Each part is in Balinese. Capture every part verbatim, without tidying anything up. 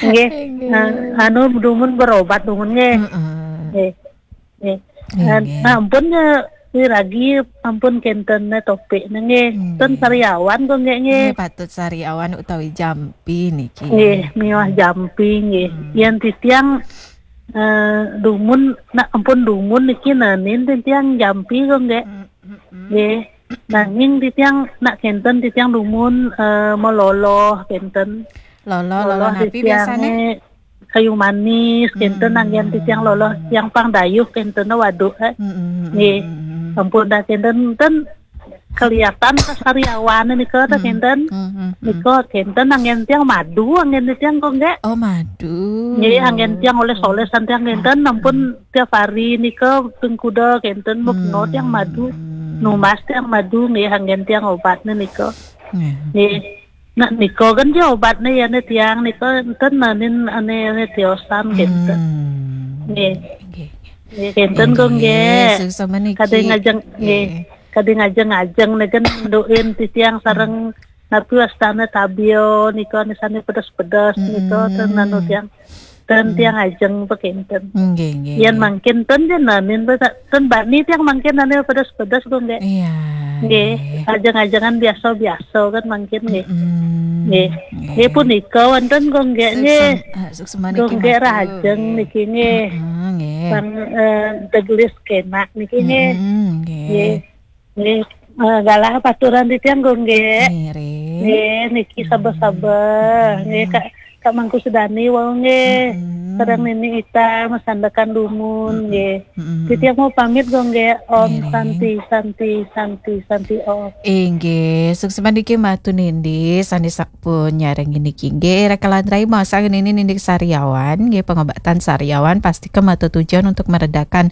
Nggih. Nggih. Nah, anu dumun berobat dumun nggih. Heeh. Nggih. Nggih. Nggih, nah, nggih. Ampun ya, wiragi ampun kenten ne topik ne nggih. Nggih. Ten sariawan kok nggih nggih. Nggih, patut sariawan utawi jampi niki. Nggih, miwah jampi nggih. Hmm. Yen titiang eh, dumun, nak ampun dumun niki nanin titiang jampi kok nggih. Hmm, hmm, hmm. Nggih. Nanging titiang nak kenten titiang dumun eh, meloloh kenten. Loloh, loloh napi titiang biasane? Kayu manis kenten, hmm, anggen titiang loloh tiang pang dayuh kenten waduk eh. Hmm, hmm, hmm, nggih. Hmm, hmm. Ampun dah kenten ten kelihatan kesariawan nika ta kenten. Hmm, hmm, hmm. Nika kenten anggen tiang madu anggen tiang kok nggih. Oh, madu. Nggih, anggen tiang oles-olesan tiang kenten, hmm, ampun tiap hari nika pengkuda kenten mukno tiang madu. Hmm. Numbas tiang madu nggih anggen tiang obatne nika. Nggih. Nggih. Nah, nika kan je obatne ya ne tiang nika enten nanin ane ane tiosan kenten. Hmm. Nggih. Nggih. Nggih, kenten kok nggih. Nggih, suksma niki. Kadang ngajeng nggih. Nggih. Kadang ngajeng-ngajeng neken nduin titiang sareng napi wastane tabio nika nisane pedes-pedes nika ten anu tiang. Ten tiang ajeng pekenten. Nggih, nggih, yen nggih. Mangkin ten je nanin pe- ten bani tiang mangkin ane pedes-pedes kok nggih. Iya. Nggih, nggih. Ajeng-ajengan biasa-biasa kan mangkin nggih. Mm-mm. Nggih. Nggih. Nggih punika wonten kok nggih nggih. Suksem-, eh, suksma niki kok nggih matu, rajeng nggih. Niki nggih. Mm-mm, nggih. Sang eh, tegelis kenak niki nggih. Mm-mm, nggih. Nggih. Nggih, eh, galah paturan titiang kok nggih. Ngiring. Nggih, niki sabar-sabar. Hmm. Nggih, Kak, Kak Mangku Sedani wau nggih. Hmm. Sareng Nini Ita masandekan dumun nggih. Hmm. Titiang mau pamit kok nggih. Om Ngiring. Santi, Santi, Santi, Santi Om. Inggih, suksma niki matu Nindi, sane sampun nyareng niki nggih. Rekalan rai masa nini Nindi sariawan, nggih pengobatan sariawan pasti kematu tujuan untuk meredakan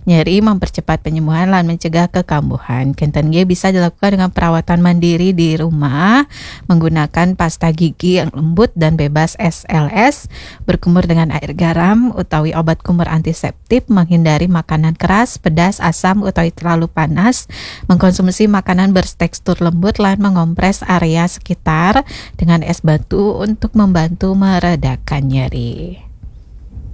nyeri, mempercepat penyembuhan, lan mencegah kekambuhan. Kenten nggih bisa dilakukan dengan perawatan mandiri di rumah, menggunakan pasta gigi yang lembut dan bebas S L S, berkumur dengan air garam utawi obat kumur antiseptik, menghindari makanan keras, pedas, asam utawi terlalu panas, mengkonsumsi makanan bertekstur lembut, lan mengompres area sekitar dengan es batu untuk membantu meredakan nyeri.